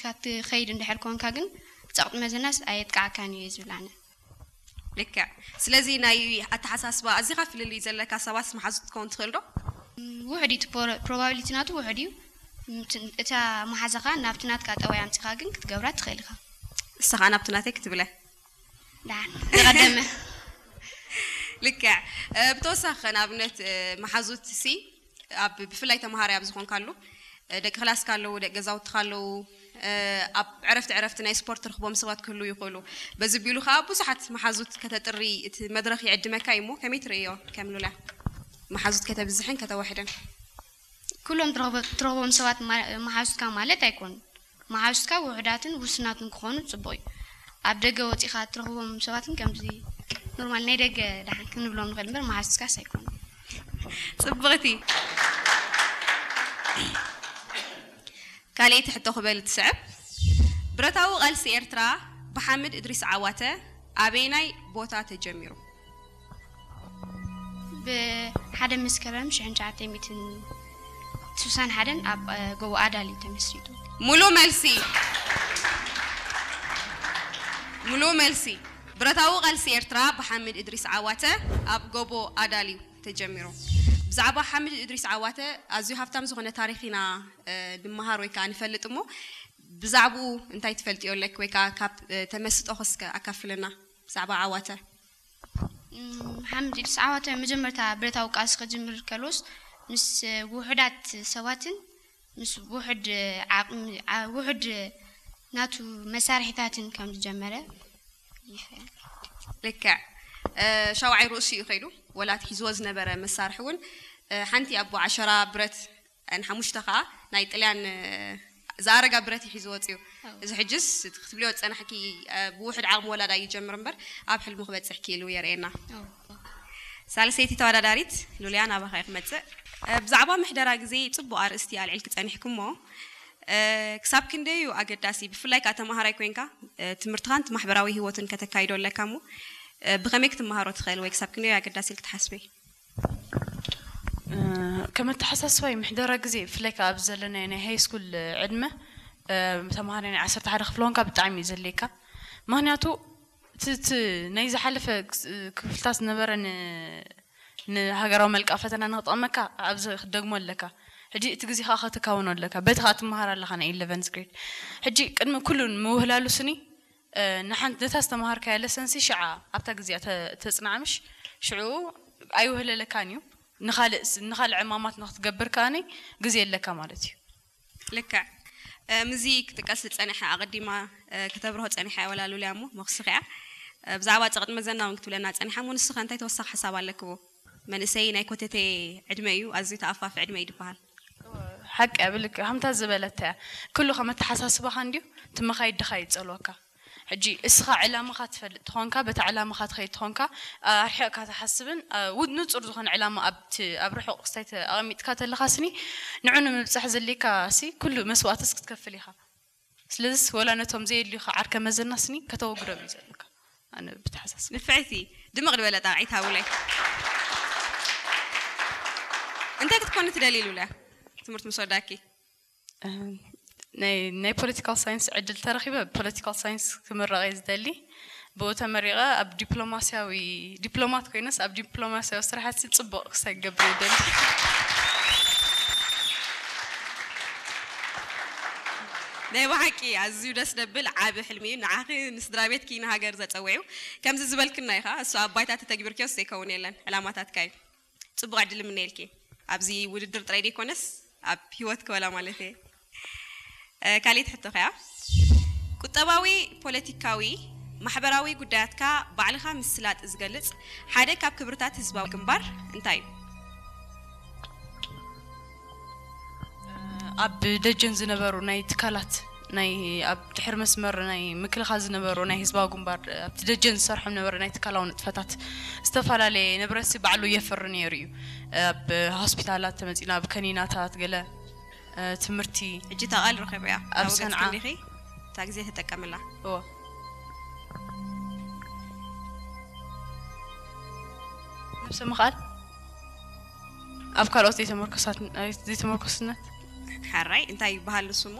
ካብ ትኸይድ እንድሕር ኮንካ ግን ጸቕጢ መዘናስ ኣየጥቃዓካን እዩ ዝብል ኣነ። ልክዕ። ስለዚ ናይ ኣተሓሳስባ ኣዚኻ ፍልልይ ዘለካ ሰባት መሓዙት ክትከውን ትኽእል ዶ? ውሕድ እዩ፣ ፕሮባቢሊቲ ናቱ ውሕድ እዩ። እታ መሓዛኻ ናብቲ ናትካ ጠባይ ኣምፂኻ ግን ክትገብራ ትኽእል ኢኻ። ንስኻ ናብቲ ናተይ ክትብለ ዳን ዝቐደመ ልክዕ። ብተወሳኺ ንኣብነት መሓዙት ሲ ኣብ ብፍላይ ተምሃራይ ኣብ ዝኾንካሉ ደቂ ክላስካ ኣለዉ፣ ደቂ ገዛውትኻ ኣለዉ። ኣብ ዕረፍቲ ዕረፍቲ ናይ ስፖርት ትርኽቦም ሰባት ክህሉ ይኽእሉ። በዚ ቢሉ ከዓ ብዙሓት መሓዙት ከተጥሪ እቲ መድረኽ ይዕድመካ እዩ። እሞ ከመይ ትርእዮ ከም ሉላ መሓዙት ከተብዝሕን ከተዋሕደን? ኩሎም ትረኽቦም ሰባት መሓዙትካ ማለት ኣይኮኑን። መሓዙትካ ውሑዳትን ውሱናትን ክኾኑ ፅቡቕ እዩ። ኣብ ደገ ወፂኻ ትረኽቦም ሰባትን ከምዚ ኖርማል ናይ ደገ ደሓን ክንብሎም ንኽእል እምበር መሓዙትካስ ኣይኮኑ። ፅብቕቲ ካልኣይቲ ሕቶ ክበል ትስዕብ። ብረታዊ ቃልሲ ኤርትራ ብሓምድ እድሪስ ዓዋተ ኣበየናይ ቦታ ተጀሚሩ? ብሓደ መስከረም ሽሕን ትሽዓተ ሚእትን ስሳን ሓደን ኣብ ጎቦ ኣዳል እዩ ተመስሪቱ። ሙሉ መልሲ ሙሉ መልሲ። ብረታዊ ቃልሲ ኤርትራ ብሓምድ እድሪስ ዓዋተ ኣብ ጎቦ ኣዳል እዩ ተጀሚሩ። ብዛዕባ ሓምድ እድሪስ ዓዋተ ኣዝዩ ሃብታም ዝኾነ ታሪኽ ኢና ንምሃር ወይ ከዓ ንፈልጥ። እሞ ብዛዕባኡ እንታይ ትፈልጥዮ ኣለክ ወይ ከዓ ካብ ተመስጦ ክስከ ኣካፍለና ብዛዕባ ዓዋተ? ሓምድ ኢድሪስ ዓዋተ መጀመርታ ብረታዊ ቃልሲ ክጅምር ከሎስ ምስ ውሑዳት ሰባትን ምስ ውሑድ ዓቕሚ ውሑድ ናቱ መሳርሒታትን ከም ዝጀመረ ይፍለጥ። ልክዕ። ሻውዓይ ርእሱ እዩ ከይዱ። ወላ እቲ ሒዝዎ ዝነበረ መሳርሒ እውን ሓንቲ ኣቦ ዓሸራ ብረት ንሓሙሽተ ከዓ ናይ ጥልያን ዝኣረጋ ብረት እዩ ሒዙ ወፅዩ። እዚ ሕጅስ ክትብልዮ ዝፀናሕኪ ብውሕድ ዓቕሚ ወላዳ ይጀምር እምበር ኣብ ሕልሙ ክበፅሕ ክኢሉ የርእየና። ሳልሰይቲ ተወዳዳሪት ሉልያ ናባኻ ክመፅእ። ብዛዕባ ምሕደራ ግዜ ፅቡቕ ኣርእስቲ ኣልዒልኪ ፀኒሕኩሞ። ክሳብ ክንደይ እዩ ኣገዳሲ፣ ብፍላይ ከዓ ተምሃራይ ኮይንካ ትምህርትኻን ማሕበራዊ ህይወትን ከተካይዶ ኣለካ። እሞ ብኸመይ ክትመሃሮ ትኽእል ወይ ክሳብ ክንደይ እዩ ኣገዳሲ ኢልክ ትሓስበይ? ከም ኣተሓሳስባይ ምሕደራ ግዜ ብፍላይ ከዓ ኣብዚ ዘለናዮ ናይ ሃይ ስኩል ዕድመ ተምሃራይ ናይ ዓሰርተ ሓደ ክፍሊ ኮንካ ብጣዕሚ እዩ ዘድልየካ። ምክንያቱ እቲ ናይ ዝሓለፈ ክፍልታት ዝነበረ ንሃገራዊ መልክዓ ፈተና ንክጠቕመካ ኣብዚ ክትደግሞ ኣለካ። ሕጂ እቲ ግዜ ከዓ ከተካውኖ ኣለካ። በቲ ከዓ ትመሃር ኣለካ ናይ ኢለቨንዝ ግሬድ። ሕጂ ቅድሚ ኩሉ ንምውህላሉ ስኒ ንሓንቲ ነታ ዝተምሃርካያ ለሰንሲ ሽዓ ኣብታ ግዜኣ ተፅንዓ ምሽ ሽዑ ኣይውህለለካን እዩ። ንኻልእ ንኻልእ ዕማማት ንክትገብር ከኣኒ ግዜ ኣለካ ማለት እዩ። ልክዕ። ምዚ ክጥቀስ ዝፀንሐ ኣቐዲማ ከተብርሆ ፀኒሓ እያ ወላ ሉልያ እሞ መኽስኽ እያ። ብዛዕባ ፀቕጢ መዘና እውን ክትብለና ፀኒሓ እሞ ንስኸ እንታይ ተወሳኺ ሓሳብ ኣለክዎ? መንእሰይ ናይ ኮተቴ ዕድመ እዩ፣ ኣዝዩ ተኣፋፊ ዕድመ እዩ ዝበሃል። ሓቂ እያ ብልክ ከምታ ዝበለታ እያ። ኩሉ ከም ኣተሓሳስባኻ እንድዩ እቲ መኻይድ ድኻ ይፀልወካ። ሕጂ እስኻ ዕላማኻ ትፈልጥ ተኾንካ በቲ ዕላማኻ ትኸይድ ተኾንካ ኣርሒቕካ ትሓስብን ንፁር ዝኾነ ዕላማ ኣብቲ ኣብ ርሑቕ ክስታይ ኣቐሚጥካ ተለኻ ስኒ ንዑ ንምብፃሕ ዘድልየካ ሲ ኩሉ መስዋእትስ ክትከፍል ኢኻ። ስለዚስ ወላ ነቶም ዘየድልዩኻ ዓርከ መዘና ስኒ ከተወግዶም እዩ ዘለካ። ኣነ ብተሓሳስብ ንፍዕቲ ድምቕ ዝበለ ጣቕዒት ሃቡለይ። እንታይ ክትኮኒ ትደሊ ሉልያ ትምህርቲ ምስ ወዳእኪ? ናይ ፖለቲካል ሳይንስ ዕድል ተረኺበ ፖለቲካል ሳይንስ ክምረቕ እየ ዝደሊ። ብኡ ተመሪቐ ኣብ ዲፕሎማስያዊ ዲፕሎማት ኮይነስ ኣብ ዲፕሎማስያዊ ስራሓት ጽቡቕ ክሳይ ክገብር ይደሊ። ናይ ብሓቂ ኣዝዩ ደስ ደብል ዓቢ ሕልሚ እዩ። ንዓኺ ንስድራ ቤትኪ ንሃገር ዘጸውዕዩ ከምዚ ዝበልክና ኢኻ። እሱ ኣብ ባይታ ተተግቢርክዮስ ዘይከውን የለን። ዕላማታትካ እዩ። ጽቡቕ ዕድል እምነየልኪ ኣብዚ ውድድር ጥራይ ደይኮነስ ኣብ ሂወት ክበላ ማለት እየ። ካልእቲ ሕቶ ከያ ቁጠባዊ፣ ፖለቲካዊ፣ ማሕበራዊ ጉዳያትካ ባዕልኻ ምስላጥ ዝገልጽ ሓደ ካብ ክብርታት ህዝባዊ ግንባር እንታይ እዩ? ኣብ ደጀን ዝነበሩ ናይ ትካላት ናይ ኣብ ድሕሪ መስመር ናይ ምክልኻል ዝነበሩ ናይ ህዝባዊ ግንባር ኣብቲ ደጀን ዝሰርሖም ነበረ ናይ ትካላዊ ንጥፈታት ዝተፈላለየ ንብረት ባዕሉ የፍሪ ነይሩ እዩ። ኣብ ሆስፒታላት ተመፂና ኣብ ከኒናታት ገለ ትምህርቲ ሕጂ እታ ቃል ረኺበያ ኣብ ሰንዓ ክንዲኺ እታ ግዜ ተጠቀምላ እዎ ነብሰ ምኽኣል ኣብ ካልኦት ዘይተመርኮሳት ዘይተመርኮስነት ሓራይ እንታይ ይበሃል ንሱ እሞ